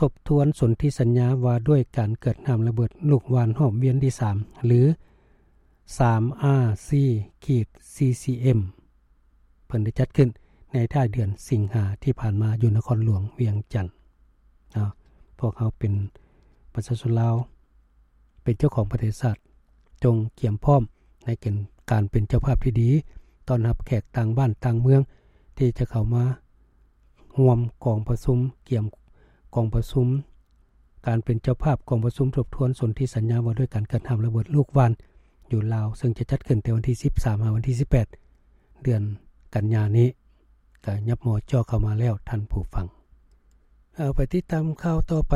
ທົບທວນສົນທິສັນຍາວ່າດ້ວຍການເກີດນ້ຳລະເບີດລູກຫວ່ານຮອບວຽນທີສາມ ຫຼື ສາມ R C ຂີດ C C M ເພິ່ນໄດ້ຈັດຂຶ້ນໃນທ້າຍເດືອນສິງຫາທີ່ຜ່ານມາຢູ່ນະຄອນຫຼວງວຽງຈັນ. ເນາະ ພວກເຮົາເປັນປະຊາຊົນລາວ ເປັນເຈົ້າຂອງປະເທດຊາດ ຈົ່ງກຽມພ້ອມໃນເກນການເປັນເຈົ້າພາບທີ່ດີ ຕ້ອນຮັບແຂກຕ່າງບ້ານຕ່າງເມືອງ ທີ່ຈະເຂົ້າມາຮ່ວມກອງປະຊຸມ ກຽມກອງປະຊຸມ ການເປັນເຈົ້າພາບກອງປະຊຸມທົບທວນສົນທິສັນຍາວ່າດ້ວຍການເກີດນ້ຳລະເບີດລູກຫວ່ານຢູ່ລາວ ເຊິ່ງຈະຈັດຂຶ້ນແຕ່ວັນທີສິບສາມ ຫາວັນທີສິບແປດ ເດືອນກັນຍານີ້ ກະຍັບມໍ່ຈ່ອເຂົ້າມາແລ້ວທ່ານຜູ້ຟັງ. ເອົາ ໄປຕິດຕາມຂ່າວຕໍ່ໄປ.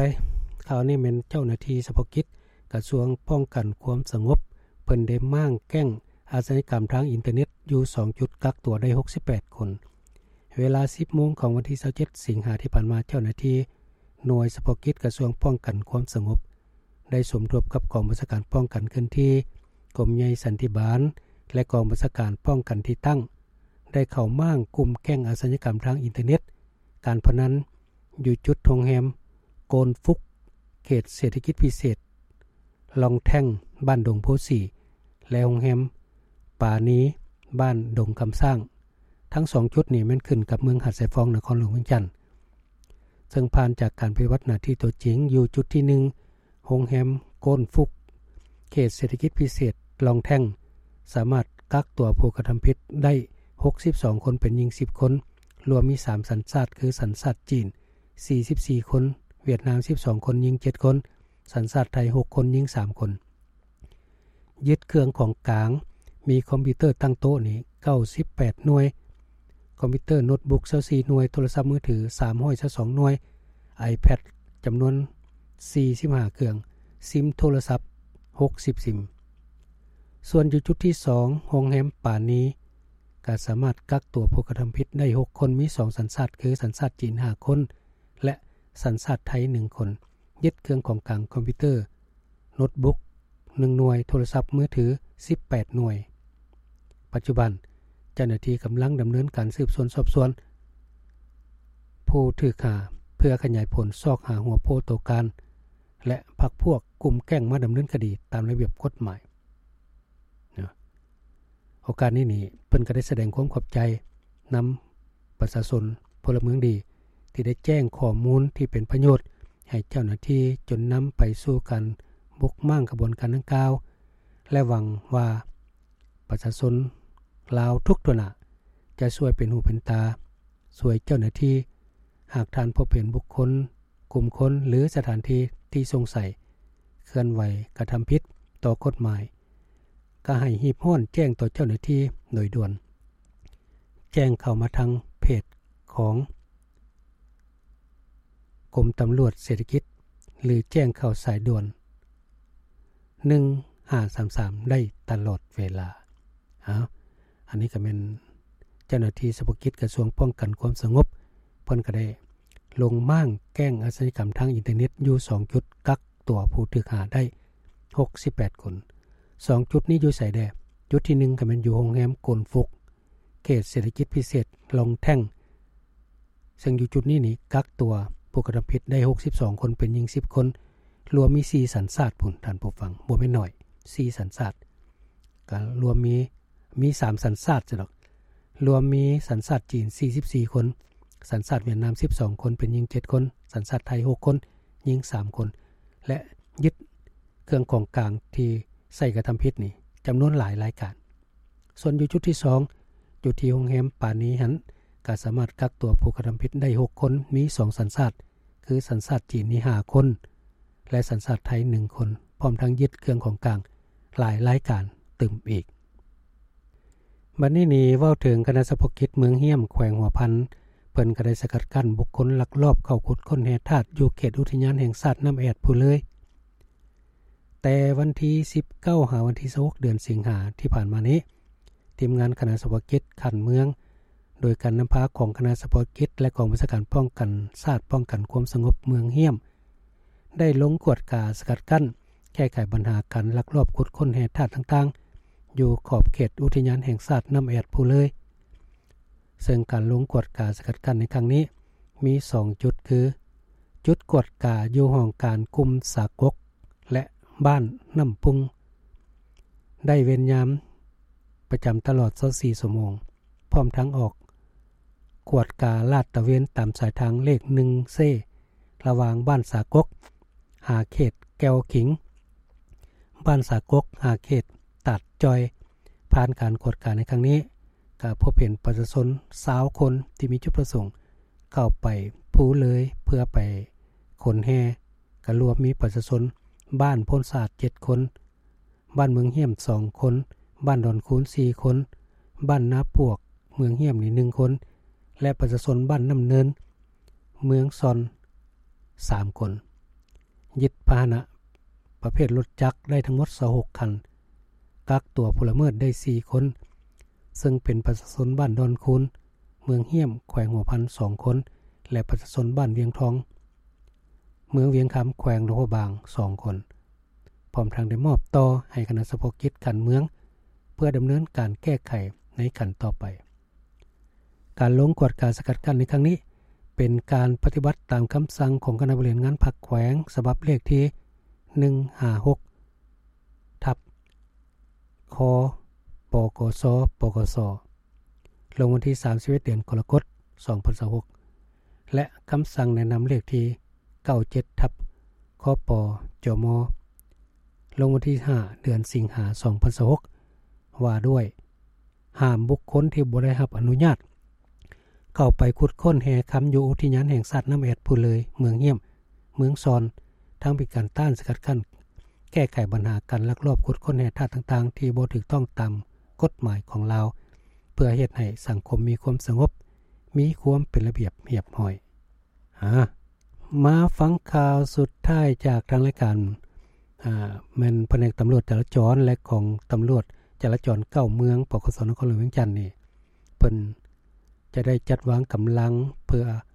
ຂ່າວນີ້ແມ່ນເຈົ້າໜ້າທີ່ສະເພາະກິດກະຊວງປ້ອງກັນຄວາມສະຫງົບ ເພິ່ນໄດ້ມ້າງແກ້ງອາຊະຍາກຳທາງອິນເຕີເນັດຢູ່ສອງຈຸດ ກັກຕົວໄດ້ຫົກສິບແປດຄົນ. ເວລາສິບໂມງຂອງວັນທີຊາວເຈັດ ສິງຫາທີ່ຜ່ານມາ, ເຈົ້າໜ້າທີ່ໜ່ວຍສະເພາະກິດກະຊວງປ້ອງກັນຄວາມສະຫງົບ ໄດ້ສົມທົບກັບກອງບັນຊາການປ້ອງກັນເຄື່ອນທີ່, ກົມໃຫຍ່ສັນຕິບານ ແລະ ກອງບັນຊາການປ້ອງກັນທີ່ຕັ້ງ ໄດ້ເຂົ້າມ້າງກຸ່ມແກ້ງອາຊະຍາກຳທາງອິນເຕີເນັດ, ການພະນັນ ຢູ່ຈຸດໂຮງແຮມໂກນຟຸກ ເຂດເສດຖະກິດພິເສດລ່ອງແທ່ງ ບ້ານດົງໂພສີ ແລະ ໂຮງແຮມປານີ ບ້ານດົງຄຳຊ້າງ. ທັງສອງຈຸດນີ້ແມ່ນຂຶ້ນກັບເມືອງຫາດຊາຍຟອງ ນະຄອນຫຼວງວຽງຈັນ. ເຊິ່ງຜ່ານຈາກການປະຕິບັດໜ້າທີ່ຕົວຈິງ ຢູ່ຈຸດທີໜຶ່ງ ໂຮງແຮມໂກນຟຸກ ເຂດເສດຖະກິດພິເສດລ່ອງແທ່ງ ສາມາດກັກຕົວຜູ້ກະທຳຜິດໄດ້ຫົກສິບສອງຄົນ ເປັນຍິງສິບຄົນ, ລວມມີສາມສັນຊາດ ຄື ສັນຊາດຈີນສີ່ສິບສີ່ຄົນ, ຫວຽດນາມສິບສອງຄົນ, ຍິງເຈັດຄົນ, ສັນຊາດໄທຫົກຄົນ, ຍິງສາມຄົນ. ຍຶດເຄື່ອງຂອງກາງ ມີຄອມພິວເຕີຕັ້ງໂຕະນີ້ເກົ້າສິບແປດໜ່ວຍ, ຄອມພິວເຕີໂນດບຸກຊາວສີ່ໜ່ວຍ, ໂທລະສັບມືຖືສາມຮ້ອຍຊາວສອງໜ່ວຍ, ໄອແພດຈຳນວນສີ່ສິບຫ້າເຄື່ອງ, ຊິມໂທລະສັບຫົກສິບຊິມ. ສ່ວນຢູ່ຈຸດທີສອງ ໂຮງແຮມປານີ ກໍສາມາດກັກຕົວຜູ້ກະທຳຜິດໄດ້ຫົກຄົນ, ມີສອງສັນຊາດ ຄື ສັນຊາດຈີນຫ້າຄົນ ແລະ ສັນຊາດໄທໜຶ່ງຄົນ. ຍຶດເຄື່ອງຂອງກາງຄອມພິວເຕີ ໂນດບຸກໜຶ່ງໜ່ວຍ, ໂທລະສັບມືຖືສິບແປດໜ່ວຍ. ປັດຈຸບັນ ເຈົ້າໜ້າທີ່ກຳລັງດຳເນີນການສືບສວນສອບສວນຜູ້ຖືກຫາ ເພື່ອຂະຫຍາຍຜົນຊອກຫາຫົວໂປ້ໂຕການ ແລະ ພັກພວກກຸ່ມແກ້ງມາດຳເນີນຄະດີຕາມລະບຽບກົດໝາຍ. ໂອກາດນີ້ນີ້ ເພິ່ນກໍໄດ້ສະແດງຄວາມຂອບໃຈນຳປະຊາຊົນ ພົນລະເມືອງດີ ທີ່ໄດ້ແຈ້ງຂໍ້ມູນທີ່ເປັນປະໂຫຍດໃຫ້ເຈົ້າໜ້າທີ່ ຈົນນຳໄປສູ່ການບຸກມ້າງຂະບວນການດັ່ງກ່າວ ແລະ ຫວັງວ່າປະຊາຊົນລາວທຸກທົ່ວໜ້າ ຈະຊ່ວຍເປັນຫູເປັນຕາ ຊ່ວຍເຈົ້າໜ້າທີ່ ຫາກທ່ານພົບເຫັນບຸກຄົນ ກຸ່ມຄົນ ຫຼື ສະຖານທີ່ທີ່ສົງໄສເຄື່ອນໄຫວກະທຳຜິດຕໍ່ກົດໝາຍ ກໍໃຫ້ຮີບຮ້ອນແຈ້ງຕໍ່ເຈົ້າໜ້າທີ່ໂດຍດ່ວນ. ແຈ້ງເຂົ້າມາທາງເພຈຂອງກົມຕຳຫຼວດເສດຖະກິດ ຫຼື ແຈ້ງເຂົ້າສາຍດ່ວນໜຶ່ງຫ້າສາມສາມໄດ້ຕະຫຼອດເວລາ. ເອົາ ອັນນີ້ກໍແມ່ນເຈົ້າໜ້າທີ່ສະເພາະກິດກະຊວງປ້ອງກັນຄວາມສະຫງົບ ເພິ່ນກໍໄດ້ລົງມ້າງແກ້ງອາຊະຍາກຳທາງອິນເຕີເນັດຢູ່ສອງຈຸດ ກັກຕົວຜູ້ຖືກຫາໄດ້ຫົກສິບແປດຄົນ. ສອງຈຸດນີ້ຢູ່ໃສແດ່? ຈຸດທີໜຶ່ງກໍແມ່ນຢູ່ໂຮງແຮມໂກນຟຸກ ເຂດເສດຖະກິດພິເສດລ່ອງແທ່ງ ເຊິ່ງຢູ່ຈຸດນີ້ນີ້ກັກຕົວຜູ້ກະທຳຜິດໄດ້ຫົກສິບສອງຄົນ ເປັນຍິງສິບຄົນ ລວມມີສີ່ສັນຊາດພຸ້ນ ທ່ານຜູ້ຟັງ ບໍ່ແມ່ນໜ້ອຍ ສີ່ສັນຊາດ ກະລວມມີ ມີສາມສັນຊາດຊະດອກ ລວມມີສັນຊາດຈີນສີ່ສິບສີ່ຄົນ, ສັນຊາດຫວຽດນາມສິບສອງຄົນ ເປັນຍິງເຈັດຄົນ, ສັນຊາດໄທຫົກຄົນ ຍິງສາມຄົນ ແລະ ຍຶດເຄື່ອງຂອງກາງທີ່ໃຊ້ກະທຳຜິດນີ້ຈຳນວນຫຼາຍລາຍການ. ສ່ວນຢູ່ຈຸດທີສອງ ຢູ່ທີ່ໂຮງແຮມປານີຫັ້ນ ກໍສາມາດກັກຕົວຜູ້ກະທຳຜິດໄດ້ຫົກຄົນ ມີສອງສັນຊາດ ຄືສັນຊາດຈີນນີ້ຫ້າຄົນ ແລະ ສັນຊາດໄທໜຶ່ງຄົນ ພ້ອມທັງຍຶດເຄື່ອງຂອງກາງຫຼາຍລາຍການຕື່ມອີກ. ບັດນີ້ນີ້ເວົ້າເຖິງຄະນະສະເພາະກິດເມືອງຮ້ຽມ ແຂວງຫົວພັນ ເພິ່ນກໍໄດ້ສະກັດກັ້ນບຸກຄົນລັກລອບເຂົ້າຂຸດຄົ້ນແຮ່ທາດຢູ່ເຂດອຸທິຍານແຫ່ງຊາດນ້ຳແອດພູເລີຍ. ແຕ່ວັນທີສິບເກົ້າ ຫາວັນທີຊາວຫົກ ເດືອນສິງຫາທີ່ຜ່ານມານີ້ ທີມງານຄະນະສະເພາະກິດຂັ້ນເມືອງ ໂດຍການນຳພາຂອງຄະນະສະເພາະກິດ ແລະ ກອງບັນຊາການປ້ອງກັນຊາດ ປ້ອງກັນຄວາມສະຫງົບເມືອງຮ້ຽມ ໄດ້ລົງກວດກາສະກັດກັ້ນ ແກ້ໄຂບັນຫາການລັກລອບຂຸດຄົ້ນແຮ່ທາດຕ່າງໆ ຢູ່ຂອບເຂດອຸທິຍານແຫ່ງຊາດນ້ຳແອດພູເລີຍ. ເຊິ່ງການລົງກວດກາສະກັດກັ້ນໃນຄັ້ງນີ້ ມີສອງຈຸດ ຄື ຈຸດກວດກາຢູ່ຫ້ອງການກຸ່ມສາກົກ ແລະ ບ້ານນ້ຳປຸງ ໄດ້ເວນຍາມປະຈຳຕະຫຼອດຊາວສີ່ຊົ່ວໂມງ, ພ້ອມທັງອອກກວດກາລາດຕະເວນຕາມສາຍທາງເລກໜຶ່ງເຊ ລະຫວ່າງບ້ານສາກົກຫາເຂດແກ້ວຂິງ, ບ້ານສາກົກຫາເຂດຕາດຈ່ອຍ. ຜ່ານການກວດກາໃນຄັ້ງນີ້ ກະພົບເຫັນປະຊາຊົນຊາວຄົນທີ່ມີຈຸດປະສົງເຂົ້າໄປພູເລີຍເພື່ອໄປຂົນແຮ່, ກະລວມມີປະຊາຊົນບ້ານໂພນສະອາດເຈັດຄົນ, ບ້ານເມືອງຫ້ຽມສອງຄົນ, ບ້ານດອນຄູນສີ່ຄົນ, ບ້ານນາປວກເມືອງຫ້ຽມນີ້ໜຶ່ງຄົນ ແລະ ປະຊາຊົນບ້ານນ້ຳເນີນເມືອງຊອນສາມຄົນ. ຍຶດພາຫະນະປະເພດລົດຈັກໄດ້ທັງໝົດຊາວຫົກຄັນ, ກັກຕົວຜູ້ລະເມີດໄດ້ສີ່ຄົນ ເຊິ່ງເປັນປະຊາຊົນບ້ານດອນຄູນ ເມືອງຫ້ຽມ ແຂວງຫົວພັນສອງຄົນ ແລະ ປະຊາຊົນບ້ານວຽງທອງ ເມືອງວຽງຄຳ ແຂວງຫຼວງພະບາງສອງຄົນ, ພ້ອມທັງໄດ້ມອບຕໍ່ໃຫ້ຄະນະສະເພາະກິດການເມືອງ ເພື່ອດຳເນີນການແກ້ໄຂໃນຂັ້ນຕໍ່ໄປ. ການລົງກວດກາສະກັດກັ້ນໃນຄັ້ງນີ້ ເປັນການປະຕິບັດຕາມຄຳສັ່ງຂອງຄະນະບໍລິຫານງານພັກແຂວງ ສະບັບເລກທີໜຶ່ງຫ້າຫົກ ທັບ ຄ ປກສ ປກສ ລົງວັນທີສາມສິບເອັດ ເດືອນກໍລະກົດ ສອງພັນຊາວຫົກ ແລະ ຄຳສັ່ງແນະນຳເລກທີເກົ້າເຈັດ ທັບ ຄປ ຈມ ລົງວັນທີຫ້າ ເດືອນສິງຫາ ສອງພັນຊາວຫົກ ວ່າດ້ວຍຫ້າມບຸກຄົນທີ່ບໍ່ໄດ້ຮັບອະນຸຍາດ ເຂົ້າໄປຂຸດຄົ້ນແຮ່ຄຳຢູ່ອຸທິຍານແຫ່ງຊາດນ້ຳແອດ ພູເລີຍ ເມືອງຫ້ຽມ ເມືອງຊອນ, ທັງເປັນການຕ້ານສະກັດກັ້ນ ແກ້ໄຂບັນຫາການລັກລອບຂຸດຄົ້ນແຮ່ທາດຕ່າງໆ ທີ່ບໍ່ຖືກຕ້ອງຕາມກົດໝາຍຂອງລາວ, ເພື່ອເຮັດໃຫ້ສັງຄົມມີຄວາມສະຫງົບ, ມີຄວາມເປັນລະບຽບຮຽບຮ້ອຍ. ອາ ມາຟັງຂ່າວສຸດທ້າຍຈາກທາງລາຍການ, ອາ ແມ່ນພະແນກຕຳຫຼວດຈະລາຈອນ ແລະ ກອງຕຳຫຼວດຈະລາຈອນເກົ້າເມືອງ ປກສ ນະຄອນຫຼວງວຽງຈັນນີ້ ເພິ່ນຈະໄດ້ຈັດວາງກຳລັງເພື່ອ